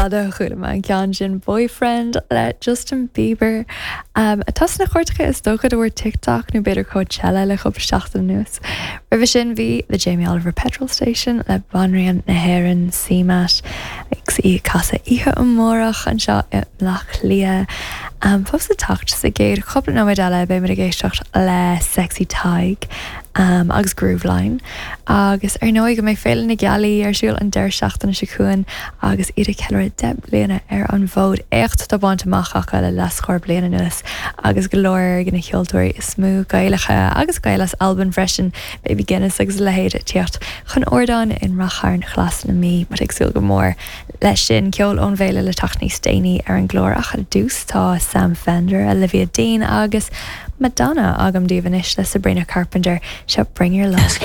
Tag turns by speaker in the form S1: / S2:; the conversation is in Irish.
S1: fada ó chuala mé an ceann sin Boyfriend le Justin Bieber. Atá sna cairteacha is dócha de bharr TikTok nó b'fhéidir Coachella le cúpla seachtain anuas. Roimhe sin bhí The Jamie Oliver Petrol Station le Banríon na hÉireann CMAT agus í ag casadh oíche amárach anseo i mBleá Cliath. Fós le teacht sa gcéad chúpla nóiméad eile beidh muid ag éisteacht le Sexy Tadhg agus Grooveline. Agus ar ndóigh go mbeidh Féile na Gealaí ar siúl an deireadh seachtaine seo chugainn agus iad ag ceiliúradh 10 mbliana ar an bhfód. Éacht atá bainte amach acu le leathscór bliain anuas agus go leor de na ceoltóirí is mó Gaelacha agus Gaeil as Albain freisin, Baby Guinness agus a leithéid ag tíocht chun ardáin i Rath Chairn Ghlas na Mí. Muid ag súil go mór leis sin. Ceol ón bhféile le teacht níos déanaí ar an gclár ach ar dtús tá Sam Fender, Olivia Dean agus Madonna agam daoibh anois le Sabrina Carpenter. Seo Bring Your Love.